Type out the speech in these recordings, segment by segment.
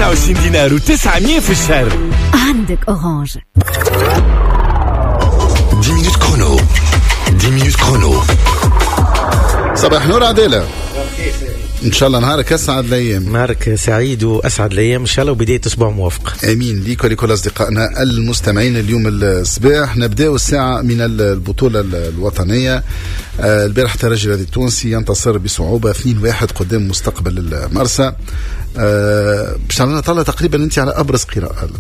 29 دينار و900 في الشهر. عندك Orange. 10 minutes chrono، 10 minutes chrono. صباح نور عدالة، ان شاء الله نهارك اسعد الايام. نهارك سعيد واسعد الايام ان شاء الله، وبداية اسبوع موفق. امين ليك ولكل اصدقائنا المستمعين. اليوم الصباح نبداو الساعة من البطولة الوطنيه. البارح الترجي الرياضي التونسي ينتصر بصعوبة 2-1 قدام مستقبل المرسى. باش تعملنا طلع تقريبا انت على ابرز قراءه.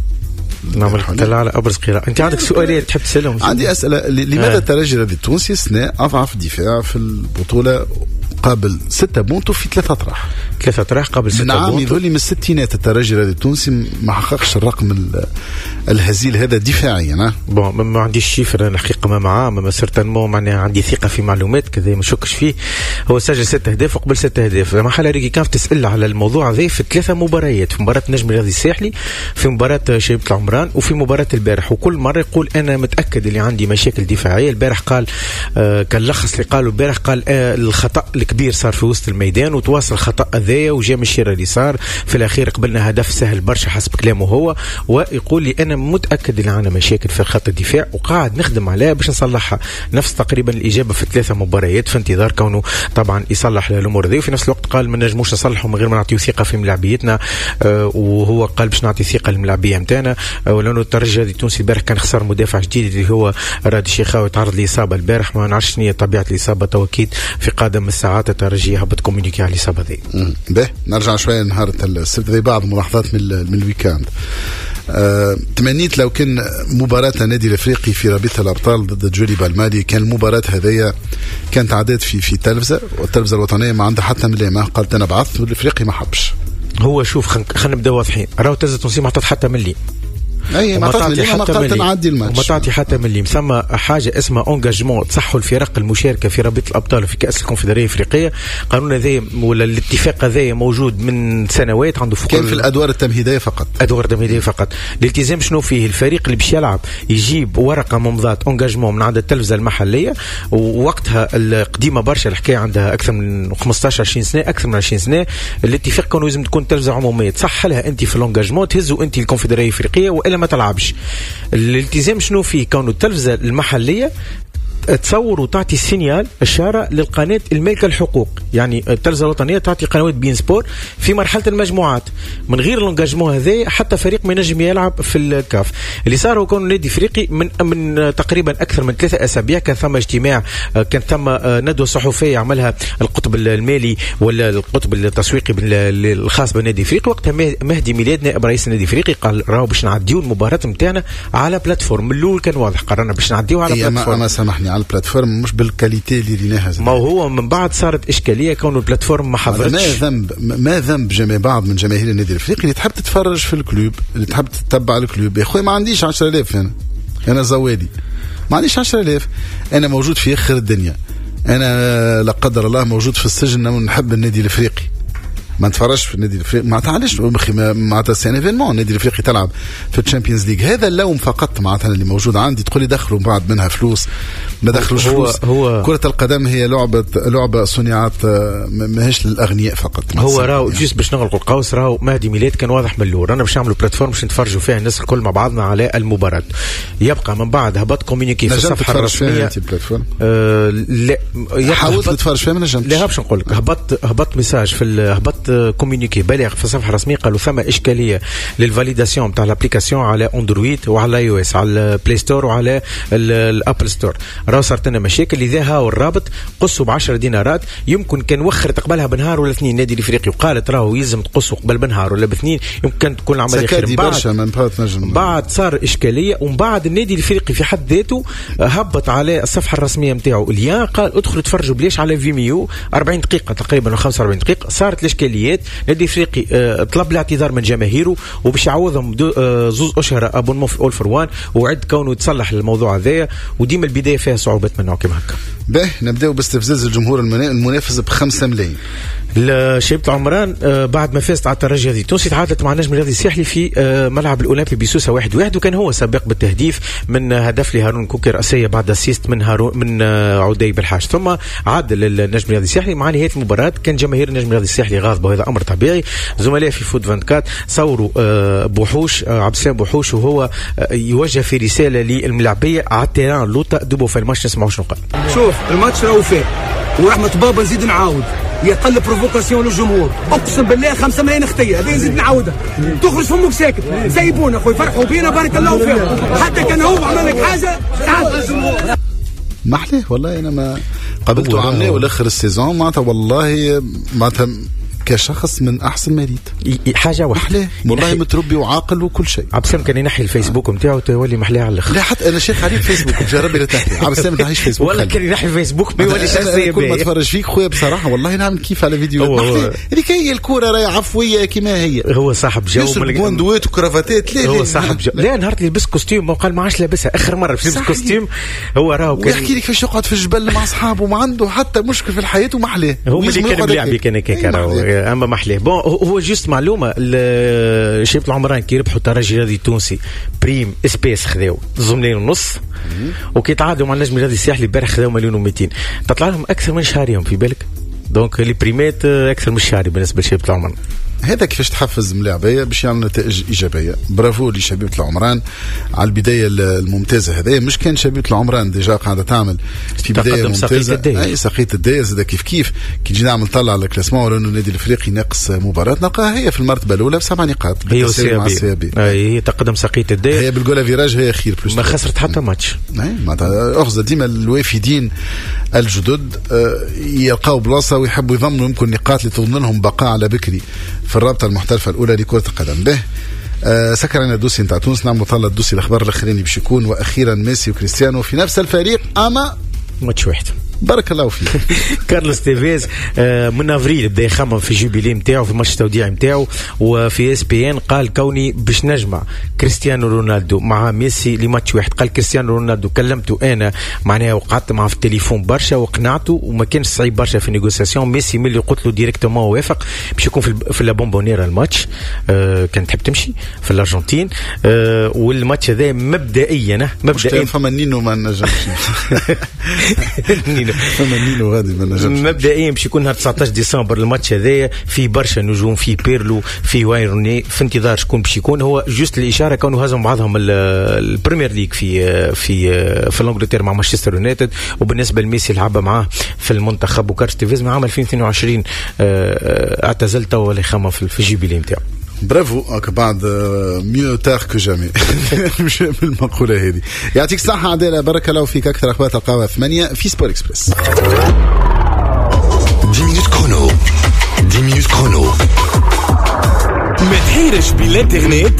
نعمل طلع على ابرز قراءه. انت عندك سؤالين تحب تسالهم؟ عندي اسئله. لماذا الترجي الرياضي التونسي سنة اضعف دفاع في البطوله، قابل 6 بونتو في 3 اطراح؟ 3 اطراح قابل 6 نعم بونتو. يظل من الستينات الترجي الرياضي التونسي ما حققش الرقم الهزيل هذا دفاعيا. bon ما عنديش chiffre انا الحقيقه، ما معاه ما certainement، معناها عندي ثقة في معلومات كذا ما نشكش فيه. هو سجل 6 اهداف وقبل 6 اهداف. ما حال ريكي تسال على الموضوع هذا في 3 مباريات، في مباراة النجم الرياضي الساحلي، في مباراة شبيبة العمران، وفي مباراة البارح. وكل مرة يقول انا متاكد اللي عندي مشاكل دفاعية. البارح قال كان لخص اللي قاله البارح، قال الخطا الكبير صار في وسط الميدان وتواصل الخطا هذايا وجا من الشيره اليسار، في الاخير قبلنا هدف سهل برشا حسب كلامه هو. ويقول لي انا متاكد اللي عندنا مشاكل في خط الدفاع وقاعد نخدم عليها باش نصلحها. نفس تقريبا الاجابة في 3 مباريات، في انتظار كونه طبعا يصلح الامور هذه. وفي نفس الوقت قال ما نجموش نصلحوا من غير ما نعطيو ثقة في ملاعبيتنا، وهو قال باش نعطي ثقة للملاعبيه نتاعنا. ولانه الترجي التونسي البارح كان خسر مدافع جديد اللي هو رادي الشيخاوي، تعرض لاصابة البارح، ما نعرفش شنو هي طبيعة الاصابة، تو اكيد في قادم الساعات الترجي هبط communiqué على الاصابة هذه. باهي نرجع شوية نهار السبت، ذي بعض ملاحظات من ال week-end. تمنيت لو كان مباراة النادي الافريقي في رابطة الابطال ضد جوليبا المالي، كان المباراة هذيا كانت عادات في تلفزة، والتلفزة الوطنية ما عندها حتى ملامة، قالت انا بعثت والافريقي ما حبش. هو شوف خلينا نبداو واضحين، راهو التلفزة التونسية ما عطات حتى ملي. اي ما تعطي حتى ملي، نعدي الماتش وما تعطي حتى ملي. ثم حاجة اسمها engagement، تصحوا الفرق المشاركة في رابطه الابطال وفي كاس الكونفدراليه الافريقية. قانون هذا ولا الاتفاق هذا موجود من سنوات، عنده فوق كان في الادوار التمهيدية فقط. ادوار التمهيدية فقط. الالتزام شنو فيه؟ الفريق اللي باش يلعب يجيب ورقة ممضاه engagement من عند التلفزة المحلية، ووقتها القديمة برشا الحكاية عندها اكثر من 15 20 سنة، اكثر من 20 سنة. الاتفاق كانوا لازم تكون تلفزه عموميه، تصح لها انت في l'engagement، تهزوا انت الكونفدراليه الافريقية والا ما تلعبش. الالتزام شنو فيه؟ كونه التلفزة المحلية تصور وتعطي signal اشارة للقناة المالكة الحقوق، يعني التلفزة الوطنية تعطي قنوات beIN Sports في مرحلة المجموعات. من غير l'engagement هذا حتى فريق ما ينجم يلعب في الكاف. اللي صار هو كون النادي الافريقي من تقريبا اكثر من 3 اسابيع كان ثم اجتماع، كان ثم ندوه صحفية عملها القطب المالي ولا القطب التسويقي الخاص بالنادي الافريقي. وقتها مهدي ميلاد نائب رئيس النادي الافريقي قال راهو باش نعديو المباراة نتاعنا على plateforme. من الاول كان واضح قررنا باش نعديو على plateforme. ما سامحني، على ال plateforme مش بال qualité اللي ريناها. ما هو من بعد صارت اشكالية كون ال plateforme ما حضرتش. ما ذنب جميع بعض من جماهير النادي الافريقي اللي تحب تتفرج في ال club، اللي تحب تتبع ال club. يا خويا ما عنديش 10000، انا زوالي ما عنديش 10000، انا موجود في اخر الدنيا، انا لا قدر الله موجود في السجن، نحب النادي الافريقي، ما نتفرجش في النادي الافريقي. معناتها علاش معناتها c'est un événement النادي الافريقي تلعب في ال Champions League. هذا اللوم فقط معناتها اللي موجود عندي. تقول لي دخلوا بعض منها فلوس، ما دخلوش فلوس. هو كرة القدم هي لعبة صنعت ماهيش للاغنياء فقط. هو راهو juste باش نغلقوا القوس، راهو مهدي ميلاد كان واضح من الاول، رانا باش نعملوا plateforme باش نتفرجوا فيها الناس الكل مع بعضنا على المباراة. يبقى من بعد هبط communiqué في الصفحة الرسمية. لا حاولت نتفرج فيها ما نجمتش. لا باش نقول لك هبط message في هبط communiqué بلاغ في الصفحة الرسمية، قالوا ثم اشكالية لل validation تاع l'application على Android وعلى iOS، على ال Play Store وعلى ال Apple Store. راهو صارت لنا مشاكل، لذا هاو الرابط قصوا ب 10 دينارات. يمكن كان وخرت قبلها بنهار ولا اثنين النادي الافريقي وقالت راهو يلزم تقصوا قبل بنهار ولا باثنين، يمكن تكون العملية خير. بعد صار اشكالية، ومن بعد النادي الافريقي في حد ذاته هبط على الصفحة الرسمية نتاعو lien، قال ادخلوا تفرجوا بلاش على Vimeo 40 دقيقة تقريبا و 45 دقيقة. صارت الاشكاليات، النادي الافريقي طلب الاعتذار من جماهيره وباش يعوضهم 2 اشهر abonnement في All for One، وعد كونه يتصلح الموضوع هذايا. وديما البداية فيها صعوبات من نوع كيما هكا. باهي نبداو باستفزاز الجمهور المنافس ب 5 ملايين. شبيبة العمران بعد ما فازت على الترجي الرياضي التونسي تعادلت مع النجم الرياضي الساحلي في ملعب الاولمبي بسوسه 1-1، وكان هو سابق بالتهديف من هدف لهارون كوكي راسية بعد assist من هارون من عدي بالحاج. ثم عاد النجم الرياضي الساحلي مع نهاية المباراة كان جماهير النجم الرياضي الساحلي غاضبه، وهذا امر طبيعي. زملاء في فوت 24 صوروا بوحوش، عبد السلام بوحوش، وهو يوجه في رسالة للملاعبيه على ال terrain لوطا دوبو في الماتش. نسمعوا شنو قال. شوف الماتش راهو فيه ورحمة بابا نزيد نعاود يقل provocation للجمهور، اقسم بالله 5 ملايين خطيه هذه نزيد نعاودها، تخرج فمك ساكت، سيبونا خويا فرحوا بينا بارك الله فيهم، حتى كان هو عمل لك حاجة تعال الجمهور. ما احلاه والله، انا ما قابلته عامله والاخر ال saison معناتها والله معناتها كشخص من احسن ما ريت حاجة واحدة والله متربي وعاقل وكل شيء. عبد السلام كان ينحي الفيسبوك نتاعو تولي محلاه على الاخر. لا حتى انا شيخ عليه فيسبوك جرب لا تحكي عبد السلام ما تحيش فيسبوك والله كان ينحي الفيسبوك ما يولي شخصية. كل ما تفرج فيك خويا بصراحة والله نعمل كيف على فيديو هذيك هي الكورة راهي عفوية كما هي. هو صاحب جو بوندوات وكرافاتات. لا هو صاحب جو. لا نهار اللي لبس costume وقال ما عادش لابسها اخر مرة باش يلبس costume. هو راهو كان يحكي لك كيفاش يقعد في الجبل مع اصحابه وما عنده حتى مشكل في الحياة ومحلاه. هو اللي كان بيلعب كان هكاك راهو اما محلاه. bon هو juste معلومة، شبيبة العمران كي ربحوا الترجي الرياضي التونسي prime espèces خذاو 2.5 مليون، وكي تعادلوا مع النجم الرياضي الساحلي البارح خذاو 1.2 مليون، تطلع لهم اكثر من شهريهم في بالك. donc les primes اكثر من شهري بالنسبة لشبيبة العمران. هذا كيفاش تحفز ملاعبيه باش يعمل نتائج ايجابية. برافو لشبيبه العمران على البداية الممتازة. هذا مش كان شبيبة العمران déjà قاعدة تعمل في بداية ممتازة. اي سقيت الدايه زاد كيف كيف كي تجي نعمل طلع على ال classement ولانه النادي الافريقي ناقص مباراة نلقاها هي في المرتبة الاولى ب7 نقاط. هي مع ال CAB. هي تقدم سقيت الدايه هي بال goal average هي خير plus ما خسرت حتى ماتش. اي معناتها اخذ ديما الوافدين الجدد يلقاو بلاصة ويحبوا يضمنوا يمكن نقاط اللي تضمن لهم بقاء على بكري في الرابطة المحترفه الاولى لكرة القدم. به سكرنا ال dossier نتاع تونس، نعملوا طلع ال dossier الاخبار الاخرين باش يكون واخيرا ميسي وكريستيانو في نفس الفريق اما ماتش واحد. بارك الله فيك. كارلوس تيفيز من افريل بدا يخمم في jubilé نتاعو في الماتش التوديعي نتاعو، وفي ESPN قال كوني باش نجمع كريستيانو رونالدو مع ميسي لماتش واحد. قال كريستيانو رونالدو كلمته انا معناها وقعدت معه في التليفون برشا وقنعته وما كانش صعيب برشا في négociation. ميسي ملي قلت له directement وافق باش يكون في لا بومبونيرا الماتش كان تحب تمشي في الارجنتين والماتش هذا مبدئيا فما نينو ما نجمش نينو فما نينو غادي ما نجمش. مبدئيا باش يكون نهار 19 ديسمبر الماتش هذايا في برشا نجوم، في بيرلو، في واين روني، في انتظار شكون باش يكون. هو juste الاشارة كانوا هزموا بعضهم البريمير ليج في في في انجلترا مع مانشستر يونايتد، وبالنسبة لميسي لعب معاه في المنتخب. وكارلوس تيفيز من عام 2022 اعتزل توا ولا يخمم في ال jubilé نتاعو. برافو بعد mieux tard que jamais مش بالمقولة هذه. يعطيك الصحة عدالة، بارك الله فيك. أكثر أخبار تلقاوها 8 في سبور إكسبريس. 10 minutes chrono، 10 minutes chrono. ما تحيرش بالانترنت